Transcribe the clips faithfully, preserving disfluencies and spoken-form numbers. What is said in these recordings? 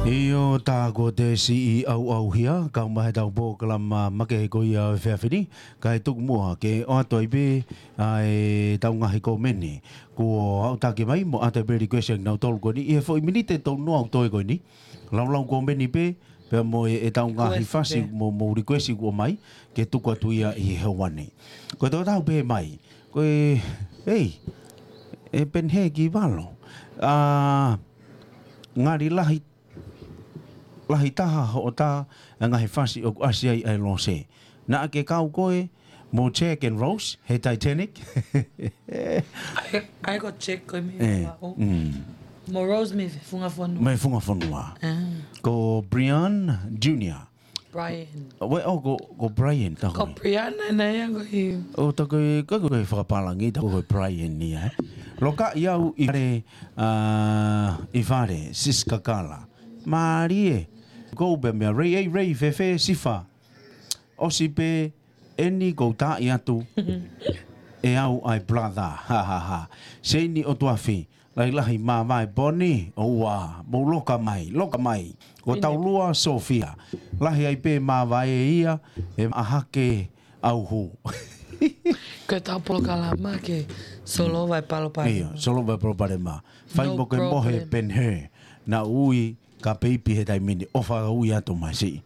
ʻIo, tā ko te siʻi ʻauʻauhia, kau mai he tau polokalama makehe ko ia ʻo e efiafi ni, kae tuku muʻa ke ʻoatu ai pē ʻa e tau ngaahi kōmeni kuo aʻutaki mai, mo ʻoatu ai pē request ʻa kinautolu ko eni, ʻi he foʻi miniti ʻe tolu noa ʻoku toe ko eni. Laulau kōmeni pē, pea mo e, e tau ngaahi request fasi pē. Mo, mo request kuo mai, ke tuku atu ia ʻi he ʻaho ni. Ko e tau pē mai, ko e, ei, e Penhe ki Valo. ʻA, ngali lahi, lahi taha hoʻo tā, ʻa e ngaahi fasi ʻoku ʻasi ai ʻa e Lose. Naʻa ke kau koe, mo Jack and Rose, he Titanic. ʻAi, ʻai ko Jack ko e mei E, Valo. Mm. Mo Rose mei Funga Fonua. Mei Funga Fonua. Ah. Ko Brian Junior. Brian. Ue, ʻo, ko, ko Brian, tā ko koe. Brian, ʻa ia ko e. ʻO, tā ko e, ko, ko, ko e fakapālangi, tā ko e Brian ni, ē. Loka ʻi au ʻi fale, ʻa, ʻi fale, Sis Kakala. Mālie. Ko pē meʻa, Ray, ei, Ray, fēfē, Sifa. ʻOsi pē, eni ko u tā ʻi atu. ʻE au ʻa e brother, ha, ha, ha. Seini ʻOtuafi. Lahi lahi māvae Poni, ʻoua, mou loka mai, loka mai. Ko Pini. Taulua Sofia. Lahi ai pē māvae ia, ʻe maʻahake ʻauhu. Ko e tau polokalama ke solova e palopalema. ʻIo, solova e palopalema. Fai No mo ke mohe problem. Penhe. Naʻa ui ka peipi he taimi ni, ʻofa ui atu mai siʻi.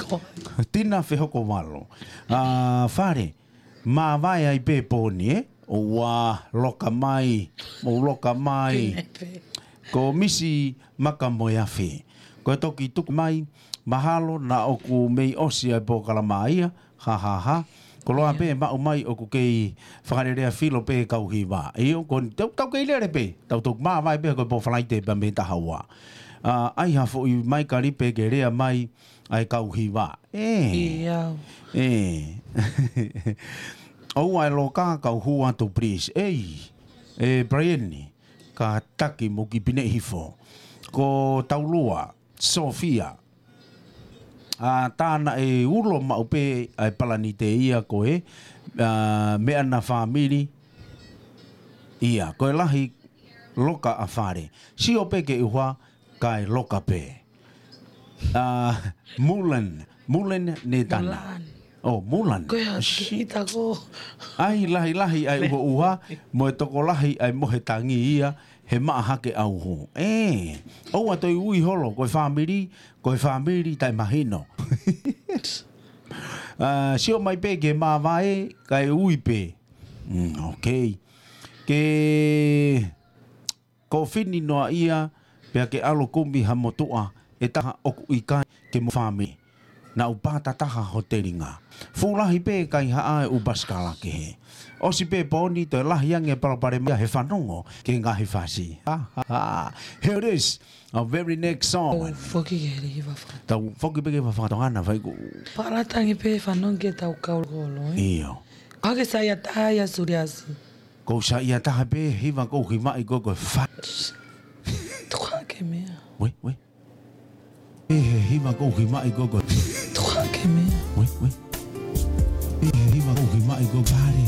Ko. Tina Fehoko Valo. ʻA, fale, māvae ai pē Poni, ē? ʻOua, loka mai, mou loka mai. Pine pē. Ko Misi Makamoeafe. Ko e toki tuku mai, mahalo naʻa ʻoku mei ʻosi ʻa e polokalama ia, ha, ha, ha. Koloa pē maʻu mai ʻoku kei fakalelea filo pē kau hiva. ʻIo, ko tau, tau kei lele pē, tau toki māvae pē ko e pō Falaite pea mei he taha ua. ʻA, ʻai ha foʻi maikalipe ke lea mai, ʻa e kau hiva. ʻE. ʻIo. ʻE. ʻOua ʻe loka kau hū atu, please. Ei. ʻE, Brian, kātaki mo ki pine hifo. Ko Taulua, Sofia. ʻA, tā naʻe ulo maʻu pē ʻa e palanite ia ko e, ʻa, meʻa na fāmili. ʻIa, ko e lahi loka ʻa fale. Sio pē ke ʻuha, kae loka pē. ʻA, Mulan, Mulan ne tana. Mulan. ʻO, Mulan. Ko ia, Shi- kita ko. ʻAi, lahi lahi, ʻai uho uha, mo e tokolahi, ʻai mo he tangi ia, he maʻa hake ʻauhu. ʻE, ʻoua toe ui holo, ko e fāmili, ko e fāmili taʻe mahino. ʻA, sio mai pē ke māvae, kae ui pē. Mm, ok. Ke ko fini noa ia, pea ke ʻalu kumi ha motuʻa, ʻe taha ʻoku ʻikai ke mo fāmili. Naʻa u pātataha ho telinga. Fuʻu lahi pē kaihaʻa e ʻū pasikala kehe. ʻOsi pē Poni toe lahi ange palopalema he fanongo ki he ngaahi fasi. Ha, ha, ha. Here it is, our very next song. Tau foki ke he hiva faka- Tau foki pē ke he hiva fakatonga na fai ku. Palatangi pē fanongo ke tau kau kolo, ē? ʻIo. Ka ke saiʻia taha ia Suliasi. Ko u saiʻia taha pē hiva ko u hivaʻi ko e ko e fa- Tuka ke meʻa. Ue, ue. ʻE he hiva ko u hivaʻi ko e ko e. Tuka ke meʻa. Ue, ue. ʻE he hiva ko u hivaʻi ko e fale.